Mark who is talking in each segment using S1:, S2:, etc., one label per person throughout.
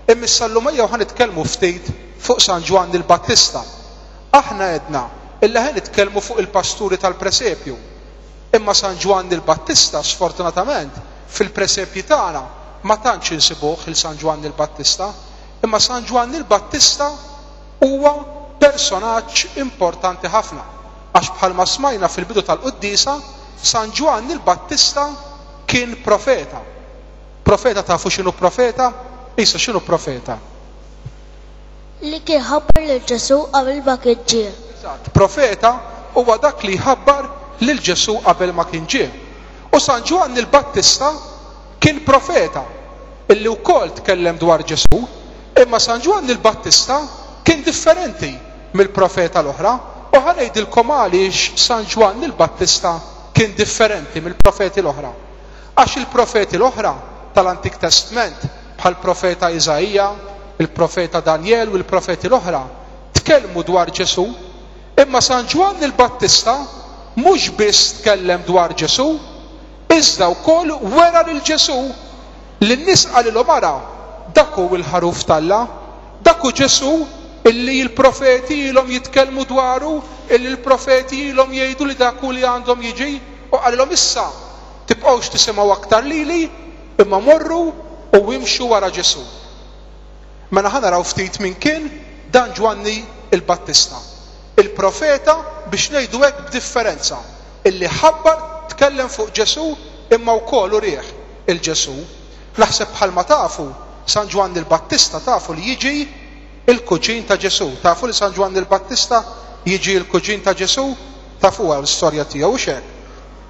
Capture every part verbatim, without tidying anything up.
S1: Imma issa llum ejjew ħa nitkellmu ftit fuq San Ġwann il-Battista. Aħna għedna illi ħa nitkellmu fuq il-pasturi tal-presepju. Imma San Ġwann il-Battista, sfortunatament, fil-presepji tagħna ma tantx insibuh il San Ġwann il-Battista. Imma San Ġwann il-Battista huwa personaġġ importanti ħafna. Għax bħalma smajna fil-bidu tal-quddiesa, San Ġwann il-Battista kien profeta. Profeta, tafu x'inhu profeta? Isa, x'inhu profeta?
S2: Li kien ħabbar lil Ġesu qabel ma kien ġie.
S1: Eżatt, profeta huwa dak li jħabbar lil Ġesu qabel ma kien ġie. U San Ġwann il-Battista kien profeta illi wkoll tkellem dwar Ġesu, imma San Ġwann il-Battista kien differenti mill-profeta l-oħra, u ħa ngħidilkom għaliex San Ġwann il-Battista kien differenti mill-profeti l-oħra. Għax il-profeti l-oħra tal-Antik Testament, bħal profeta Iżaija, il-profeta Daniel u l-profeti l-oħra, tkellmu dwar Ġesu, imma San Ġwann il-Battista mhux biss tkellem dwar Ġesu, iżda wkoll wera lil Ġesu. Lin-nies qalilhom: "Ara, dak hu il-ħaruf t'Alla, dak hu Ġesu illi l-profeti ilhom jitkellmu dwaru, illi l-profeti ilhom jgħidu li dak hu li għandhom jiġi." U qalilhom: "Issa tibqgħux tisimgħu aktar lili, imma morru u imxu wara Ġesu." Mela ħa naraw ftit min kien dan Ġwanni il-Battista. Il-profeta, biex ngħidu hekk, b'differenza, illi ħabbar, tkellem fuq Ġesu, imma wkoll urieh il-Ġesu. Naħseb bħalma tafu, San Ġwanni il-Battista tafu li jiġi il-kuġin ta' Ġesu. Tafu li San Ġwanni il-Battista jiġi il-kuġin ta' Ġesu? Tafu l-istorja tiegħu hekk.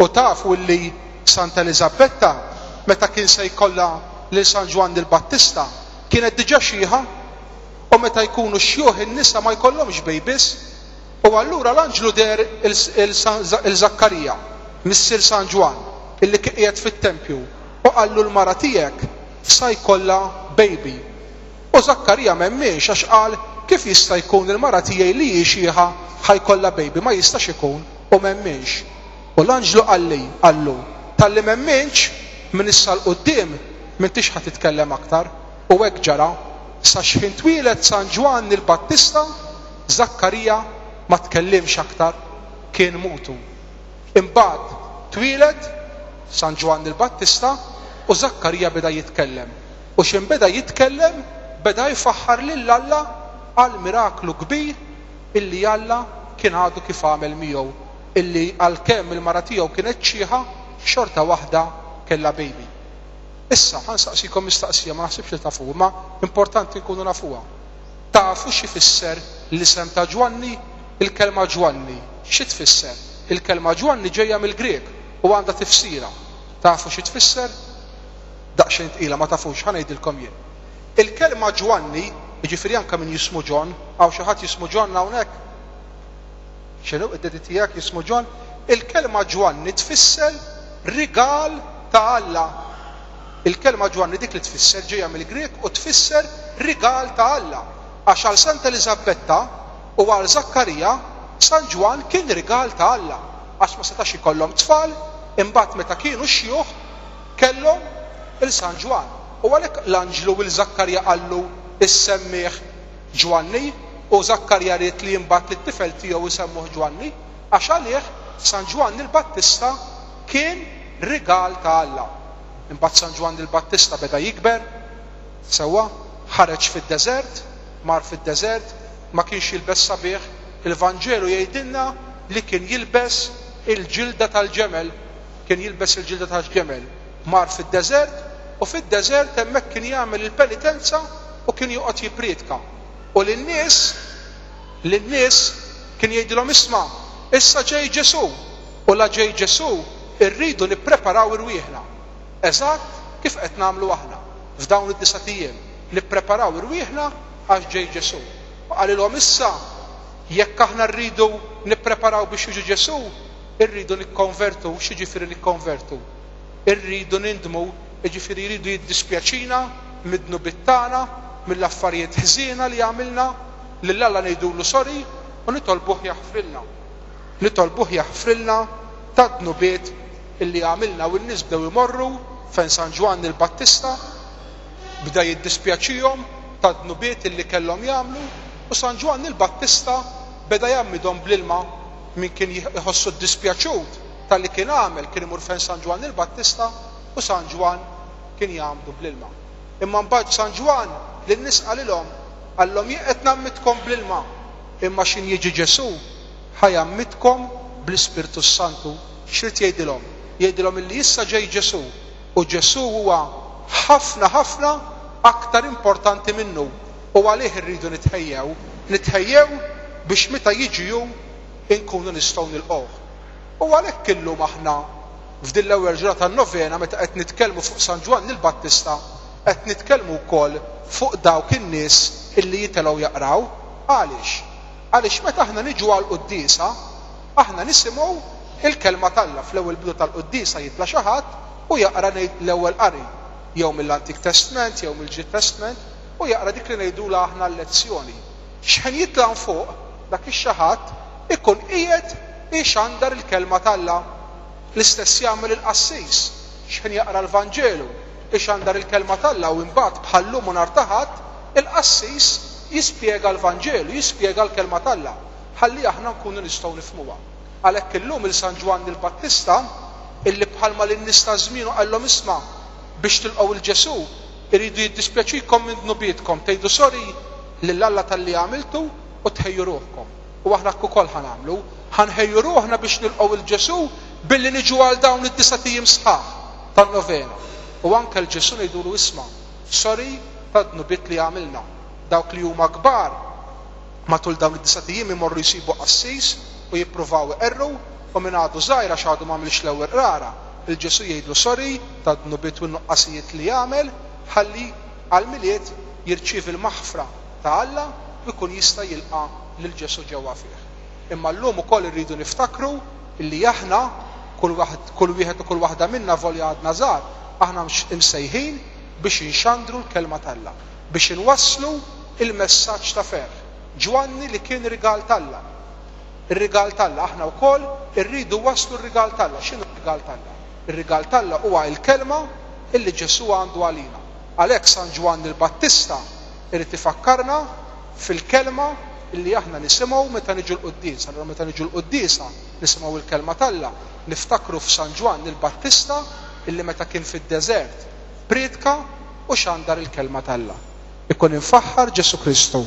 S1: U tafu li Santa Eliżabetta, meta kien se jkollha lil San Ġwanni il-Battista, kienet diġà xiħa, u meta jkunu xjuħ in-nisa ma jkollhomx babies. U allura l-anġlu deher il-Zakkarija, missier San Ġwann, illi kien qiegħed fit-tempju, u qallu: "L-mara tiegħek sa jkollha baby." U Zakkarija m'emminx, għax qal: "Kif jista' jkun il-mara tiegħi li hi xiħa ħa jkollha baby? Ma jistax ikun." U m'emminx. U l-anġlu qalli qallu: "Talli m'emmintx, minn issa 'l quddiem m'intix ħa titkellem aktar." U hekk ġara. Sa xħin twieled San Ġwann il-Battista, Zakkarija ma tkellimx aktar, kien mutu. Imbagħad twieled San Ġwann il-Battista u Zakkarija beda jitkellem. U x'ħin beda jitkellem, beda jfaħħar lil Alla għal miraklu kbir illi Alla kien għadu kif għamel miegħu, illi għalkemm il-mara tiegħu kienet xiħa, xorta waħda kellha baby. Issa, ħa nsaqsikom mistaqsija, ma naħsibx li tafu, ma importanti nkunu nafuha. Tafu xi fisser l-isem ta' Ġwanni? Il-kelma Ġwanni, xi tfisser? Il-kelma Ġwanni ġejja mill-Grek u għandha tifsira. Tafu xi tfisser? Daqsxejn tqila, ma tafux, ħa ngħidilkom jien. Il-kelma Ġwanni, jiġifieri anke min jismu John, hawn xi ħadd jismu John hawnhekk? X'inhu, id-daddy tiegħek jismu John? Il-kelma Ġwanni tfisser rigal ta' Alla. Il-kelma Ġwanni dik li tfisser, ġejja mill-Grek u tfisser rigal ta' Alla. Għax għal Santa Eliżabetta u għal Zakkarija, San Ġwann kien rigal ta' Alla. Għax ma setax ikollhom tfal, imbagħad meta kienu xjuħ kellhom il-San Ġwann. U għalhekk l-anġlu lil Zakkarija qallu: "Issemmih Ġwanni", u Zakkarija ried li imbagħad li t-tifel tiegħu jsemmuh Ġwanni, għax għalih San Ġwanni il-Battista kien rigal ta' Alla. Imbagħad San Ġwanni il-Battista beda jikber, sewwa, ħareġ fid-deżert, mar fid-deżert, ma kienx jilbes sabiħ, il-Vanġelu jgħidilna li kien jilbes il-ġilda tal-ġemel, kien jilbes il-ġilda tal-ġemel. Mar fid-deżert u fid-deżert hemmhekk kien jagħmel il-penitenza u kien joqgħod jippriedka. U lin-nies lin-nies kien jgħidilhom: "Isma', issa ġej Ġesu, u la ġej Ġesu irridu nippreparaw irwieħna." Eżatt kif qed nagħmlu aħna f'dawn id-disat ijiem, nippreparaw irwieħna għax ġej Ġesu. U qalilhom: "Issa jekk aħna rridu nippreparaw biex jiġi Ġesu, irridu nikkonvertu." X'jiġifieri nikkonvertu? Irridu nindmu, jiġifieri jridu jiddispjaċina mid-dnubiet tagħna, mill-affarijiet ħżiena li għamilna, lil Alla ngħidulu sorry u nitolbuh jaħfrilna. Nitolbuh jaħfrilna tad-dnubiet illi għamilna. U n-nies bdew imorru fejn San Ġwanni il-Battista, bda jiddispjaċihom. tad-dnubiet illi kellhom jagħmlu, u San Ġwann il-Battista beda jgħammidhom bl-ilma. Min kien jħossu ddispjaċut talli kien għamel kien imur fejn San Ġwann il-Battista u San Ġwann kien jgħammdu bl-ilma. Imma mbagħad San Ġwann lin-nies qalilhom, qallhom jien qed ngħammidkom bl-ilma, imma x'in jiġi Ġesù ħa jgħammidkom bl-Ispirtu s-Santu. X'rid jgħidilhom? Jgħidilhom illi issa ġej Ġesù, u Ġesù huwa ħafna ħafna aktar importanti minnu, u għalih irridu nitħejjew, nitħejjew biex meta jiġi hu inkunu nistgħu nilqgħuh. U għalhekk illum aħna f'din l-ewwel ġurnata tan-novena meta qed nitkellmu fuq San Ġwann il-Battista, qed nitkellmu wkoll fuq dawk in-nies illi jitilgħu jaqraw. Għaliex? Għaliex meta aħna niġu għall-quddiesa, aħna nisimgħu il-kelma t'Alla. Fl-ewwel bidu tal-quddiesa jitla' xi ħadd u jaqra l-ewwel qari, jew mill-Antik Testment jew mill-Ġdid Testament, u jaqra dik li ngħidulha aħna l-lezzjoni. X'ħin jitla' fuq dak ix-xi ħadd ikun qiegħed ixandar il-kelma t'Alla. L-istess jagħmel il-qassis x'ħin jaqra l-Vanġelu, ixandar il-kelma t'Alla, u imbagħad bħal-lum u nhar ta' Ħadd il-qassis jispjega l-Vanġelu, jispjega l-kelma t'Alla, ħalli aħna nkunu nistgħu nifhmuha. Għalhekk illum il San Ġwann il-Battista, illi bħalma lin-nies ta' żmienu qallhom isma' biex tilqgħu il Ġesù iridu jiddispjaċikom minn dnubietkom, tgħidu sorry lil Alla talli għamiltu u tħejju ruħkom. U aħna hekk ukoll ħa nagħmlu, ħa nħejju ruħna biex nilqgħu il Ġesù billi niġu għal dawn id-disa' ijiem sħaħ tan-novena. U anke l Ġesù ngħidulu isma' sorry tad-dnubiet li għamilna. Dawk li huma kbar matul dawn id-disa' ijiem imorru jsibu qassis u jippruvaw iqerru, u min għadu żgħir għax għadu m'għamilx l-ewwel qrara, il-Ġesù jgħidlu sorry tad-dnubiet u n-nuqqasijiet li għamel, ħalli għall-Milied jirċievi l-maħfra ta' Alla u jkun jista' jilqa' lil Ġesù ġewwa fih. Imma llum ukoll irridu niftakru illi aħna kull waħd, kull wieħed u kull waħda minna volja għadna żgħar, aħna imsejħin biex inxandru l-kelma t'Alla, biex inwasslu il-messaġġ ta' ferħ. Ġwanni li kien rigal t'Alla. Ir-rigal t'Alla, aħna wkoll irridu waslu r-rigal t'Alla. X'inhu r-rigal t'Alla? Ir-rigal t'Alla huwa l-kelma illi Ġesù għandu għalina. Għalhekk San Ġwann il-Battista irid ifakkarna fil-kelma illi aħna nisimgħu meta niġu l-quddiesa. Allura meta niġu l-quddiesa nisimgħu l-kelma t'Alla, niftakru f'San Ġwann il-Battista illi meta kien fid-deżert prietka u xandar il-kelma t'Alla. Ikun imfaħħar Ġesù Kristu.